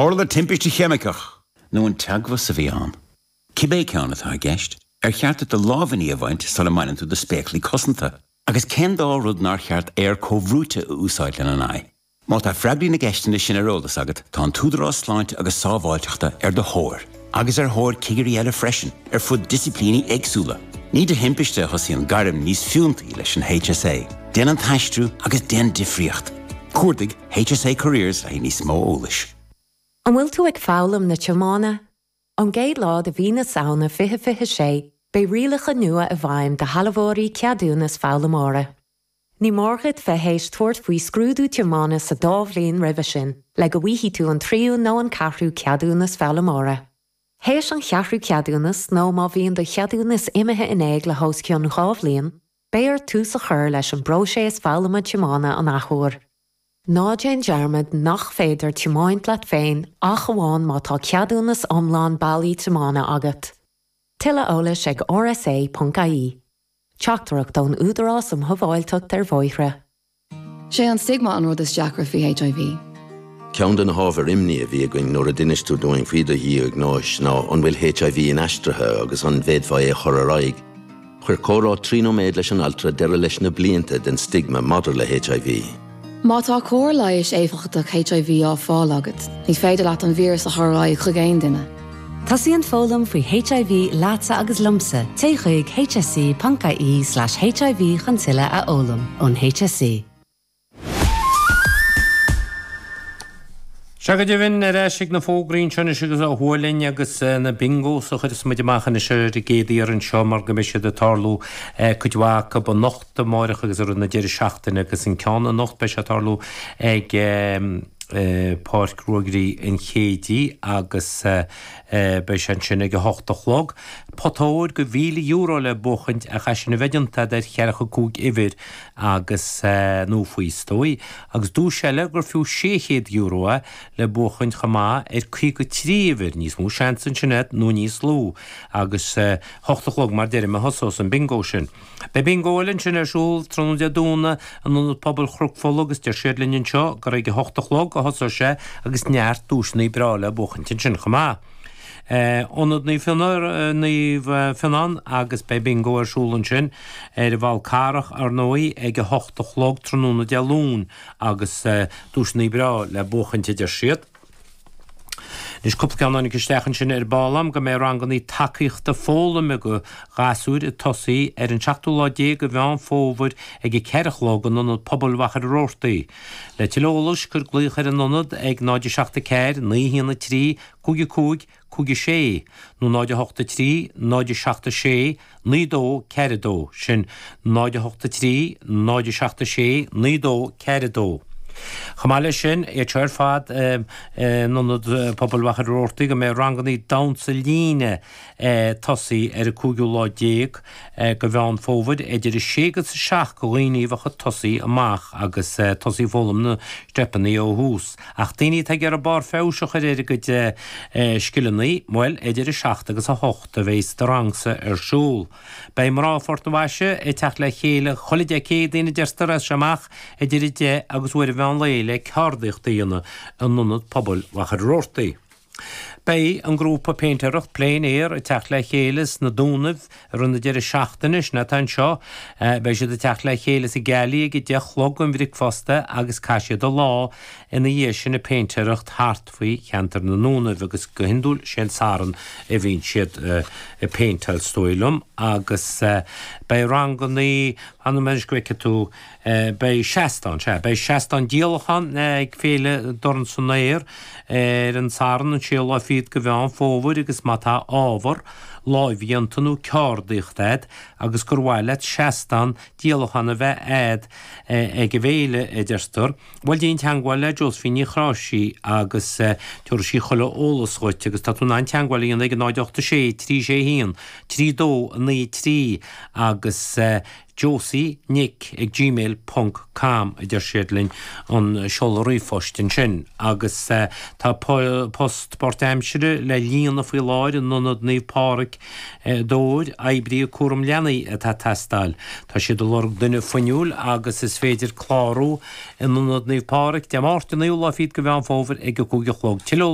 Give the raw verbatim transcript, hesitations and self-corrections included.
Tharla timpiste cheimiceach nó an teagmhas a bhí ann. Cibé ceann atá i gceist, ar cheart do lámhainní a bhaint sula mbaineann tú do spéaclaí cosanta, agus cén dá rud nár cheart aer comhbhrúite a úsáid lena n-aghaidh. Má tá freagraí na gceisteanna sin ar eolas agat, tá an tÚdarás Sláinte agus Sábháilteachta ar do thóir, agus ar thóir cigirí eile freisin, ar fud disciplíní éagsúla. Ní de thimpiste a thosaíonn gairm níos fiúntaí leis an HSA. Déan an t-aistriú agus déan difríocht. Cuardaigh HSA Careers le níos mó eolais. An bhfuil tú ag foghlaim na tiomána? Ón gcéad lá de mhí na Samhna fiche fiche sé, beidh rialacha nua i bhfeidhm do shealbhóirí ceadúnas foghlaimeora. Ní mór duit bheith théis tabhairt faoi scrúdú tiomána sa dá bhliain roimhe sin, le go bhfaighidh tú an tríú nó an ceathrú ceadúnas foghlaimeora. Théis an cheathrú ceadúnas nó má bhíonn do cheadúnas imithe in éag le hos cionn dhá bhliain, beidh ort tús a chur leis an bpróiseas foghlama tiomána an athuair. Ná déan dearmad nach féidir tiomáint leat féin ach amháin má tá ceadúnas iomlán bailí tiomána agat. Tuilleadh eolais ag rsa.ie. Teachtaireacht ón Údarás um Shábháilteacht ar Bhóithre. Sé an stigma an rud is deacra faoi HIV. Ceann de na hábhair imní a bhí againn nuair a d'inis tú dúinn faoi do dhiagnóis ná an bhfuil HIV inaistrithe agus an bhféadfá é a chur ar aghaidh. Chuir comhrá trí nóiméad leis an altra deireadh leis na blianta den stigma maidir le HIV. Má tá cóir leighis éifeachtach HIV á fáil agat, ní féidir leat an víreas a chur ar aghaidh chuig aon duine. Tosaíonn foghlaim faoi HIV leatsa agus liomsa, téigh chuig hse.ie slash HIV chun tuilleadh a fhoghlaim ón HSE. Sea go deimhin, ar ais ag na fógraí anseo anois agus a Shualainn agus na bingos a chuireas muid amach anois ar an gcéad iarraidh anseo mar go mbeidh siad ag tarlú cuid mhaith acu anocht, amáireach agus i rith na deireadh seachtaine agus an ceann anocht beidh sé ag tarlú ag Páirc Ruaidhrí an Chéidí agus beidh sé ansin ag a hocht a chlog. Pota óir de mhíle euro le buachaint ach é sin a bheith déanta agat ar cheathracha cúig uimhir agus nó faoi is dóigh, agus duais eile gur fiú sé chéad euro é le buachaint chomh maith ar caoga trí uimhir, níos mó seans ansin agat nó níos lú, agus hocht a chlog mar deirim a thosós an bingo sin. Beidh bingo eile ansin ar siúl tráthnóna Dé Domhnaigh in Ionad Pobail Chnoc Fola agus deir siad linn anseo gur ag a hocht a chlog a thosós sé agus neart duaiseanna breá le buachaint ansin chomh maith. Ionad Naomh Naomh Fionnán agus beidh bingo ar siúl ansin ar an bhFál Carrach ar ndóigh ag a hocht a chlog tráthnóna Dé Luain agus duaiseanna breá le buachaint a deir siad. Anois cúpla ceann a tháinig isteach ansin ar ball a'm go mbeidh rangannaí tacaíochta foghlaime do ghasúir ag tosaí ar an seachtú lá déag de Mheán Fómhair ag a ceathair a chlog in Ionad Pobail Mhachaire Rabhartaigh. Le tuilleadh eolais cuir glaoch ar an ionad ag náid a seacht a ceathair, naoi a haon a trí, cúig a cúig, cúig a sé, nó náid a hocht a trí, náid a seacht a sé, naoi dó, ceathair a dó, sin náid a hocht a trí, náid a seacht a sé, naoi dó, ceathair a dó. Chomh maith leis sin, iad seo ar fad in Ionad Pobail Mhachaire Rabhartaigh go mbeidh rangannaí damhsa líne ag tosaí ar an cúigiú lá déag de Mheán Fómhair idir a sé agus a seacht do dhaoine a bheadh ag tosaí amach agus tosaí ag foghlaim na steipeanna ó thús. Ach daoine atá ag iarraidh barr feabhais a chur ar a gcuid scileanna, bhuel, idir a seacht agus a hocht a bheas do rangsa ar siúl. Beidh mná Phort na bhFaiche ag teacht le chéile chuile Dé Céadaoin a deirtear as seo amach idir a deich agus uair an mheán lae le ceardaíocht a dhéanamh in Ionad Pobail Mhachaire Rabhartaigh. Beidh an grúpa péintéireacht Plein Air ag teacht le chéile sna Dúnaibh i rith na deireadh seachtaine, sin atá anseo. Beidh siad ag teacht le chéile sa Galley ag a deich a chlog don bhricfeasta agus caithfidh siad an lá ina dhiaidh sin ag péintéireacht thart faoi cheantar na nDúnaibh agus go hiondúil sé an Satharn a bhíonn siad ag péinteáil is dóigh liom agus beidh rangannaí, fan anois go bhfeicfidh tú, Beidh seastán, sea, beidh seastán díolachán ag Féile Dorn san Aer ar an Satharn an séú lá fichead de Mheán Fómhair agus má tá ábhar lámhdhéanta nó ceardaíocht a'd agus gur mhaith leat seastán díolachán a bheith a'd ag an bhféile, a deirtear, bhuel déan teagmháil le Josephine Ní Chráisí agus tabharfaidh sí chuile eolas dhuit agus tá tú in ann teagmháil a dhéanamh ag náid ocht a sé trí sé haon trí dó a naoi trí agus Josie Nic ag gmail ponc com a deir siad linn an seoladh ríomhphoist ansin agus tá post páirtaimsire le líonadh faoi láthair in Ionad Naomh Pádraig i nDobhair, oibrí cúram leanaí atá ag teastáil. Tá siad ag lorg duine fuinniúil agus is féidir clárú in Ionad Naomh Pádraig Dé Máirt an naoú lá fichead de Mheán Fómhair ag a cúig a chlog. Tuilleadh eolais.